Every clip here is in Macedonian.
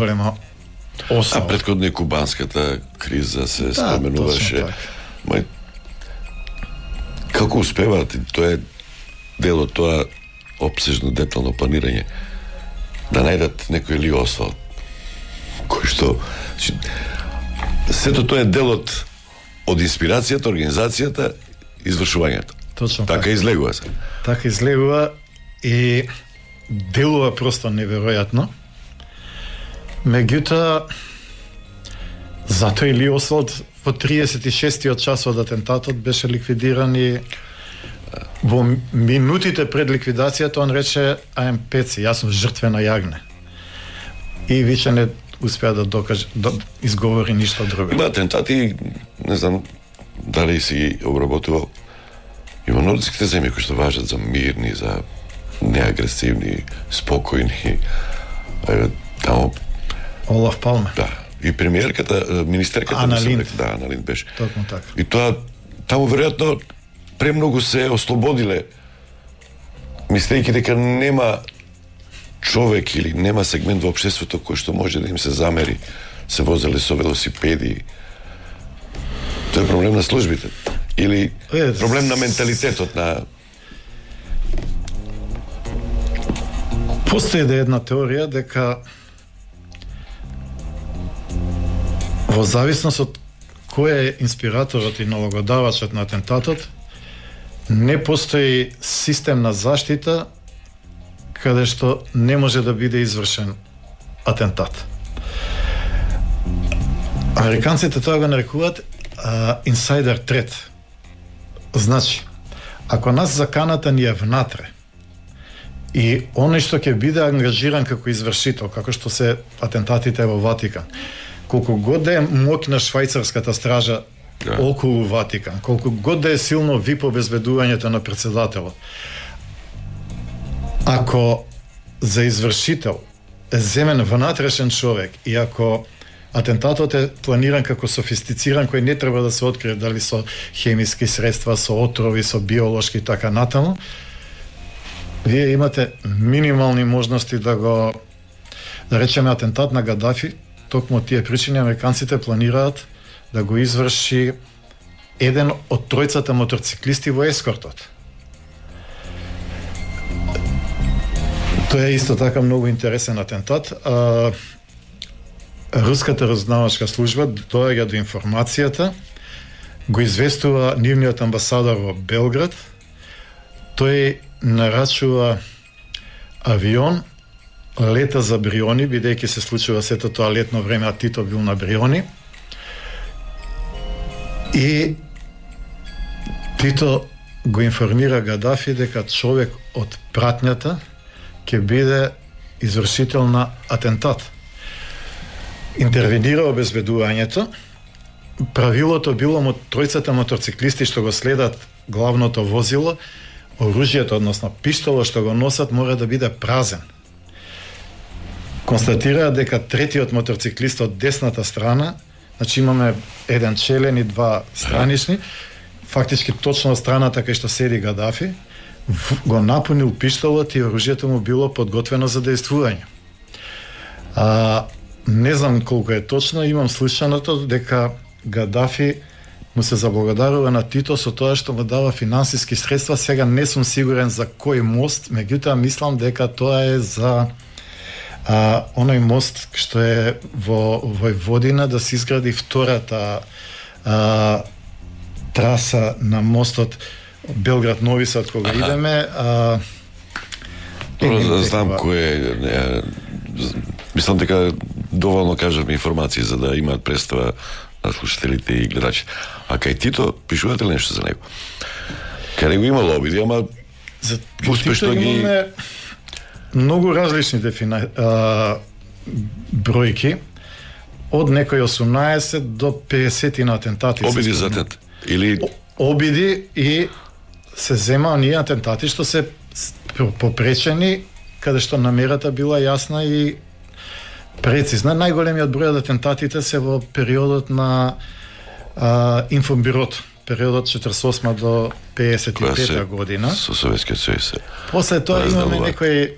голема основа. А претходно кубанската криза се споменуваше. Мај, како успеваат, тоа е дел од тоа опсежно детално планирање, да најдат некој Ли Освалд, кој што... Сето тоа е дел од инспирацијата, организацијата, извршувањето. Точно така излегува се. Така излегува и делува просто неверојатно. Меѓутоа, затоа и Ли Освалд во 36-тиот час од атентатот беше ликвидиран и во минутите пред ликвидацијата он рече I am Пеци, јас сум жртвена јагне. И више не успеа да докаже, да изговори ништо друго. Има атентати, не знам дали си ги обработувал. Има нордските земји кои што важат за мирни, за неагресивни, спокојни. Тамо Олаф Палме. Да. И премиерката, министерката Ана Линд. Да, Ана Линд беше. Токму така. И тоа таму веројатно премногу се ослободиле, мислејќи дека нема човек или нема сегмент во општеството кој што може да им се замери, се возеле со велосипеди. Тоа е проблем на службите или проблем на менталитетот на... Постои една теорија дека во зависност од кој е инспираторот и налогодавачот на атентатот, не постои систем на заштита каде што не може да биде извршен атентат. Американците тоа го нарекуваат инсайдер трет. Значи, ако нас заканата ни е внатре и оној што ќе биде ангажиран како извршител, како што се атентатите во Ватикан, колку год да е моќна швајцарската стража околу Ватикан, колку год да е силно ВИП обезбедувањето на председателот, ако за извршител е земен внатрешен човек и ако атентатот е планиран како софистициран, кој не треба да се открие дали со хемиски средства, со отрови, со биолошки и така натаму, вие имате минимални можности да го, да речеме, атентат на Гадафи. Токму тие причини американците планираат да го изврши еден од тројцата моторциклисти во ескортот. Тоа е исто така многу интересен атентат. Руската разузнавачка служба доаѓа до информацијата, го известува нивниот амбасадор во Белград, тој нарачува авион, лета за Бриони, бидејќи се случува сето тоа летно време, а Тито бил на Бриони. И Тито го информира Гадафи дека човек од пратњата ќе биде извршител на атентат. Интервенира обезбедувањето. Правилото било му тројцата моторциклисти што го следат главното возило, оружјето, односно пиштолот што го носат, мора да биде празен. Констатираа дека третиот моторциклист од десната страна, значи имаме еден челен и два странични, фактички точно страната кај што седи Гадафи, го напунил пиштолот и оружјето му било подготвено за дејствување. Не знам колку е точно, имам слушаното дека Гадафи му се заблагодарува на Тито со тоа што му дава финансиски средства. Сега не сум сигурен за кој мост, меѓутоа мислам дека тоа е за оној мост што е во Војводина, да се изгради втората траса на мостот Белград-Нови Сад кога идеме. Знам кој е. Мислам дека доволно кажавме информации за да имаат представа на слушателите и гледачите. А кај Тито пишувате ли нешто за него? Кај него имало обиди, ама успешно ги... Имаме многу различни бројки, од некои 18 до 50 на атентати. Обиди за атентат? Или... Обиди и се зема оние атентати што се попречени, каде што намерата била јасна и прецизна. Најголемиот број од атентатите се во периодот на инфобирото, периодот 48 до 55 година. Со Советскиот сојуз. После тоа имаме некои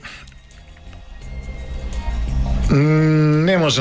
Не може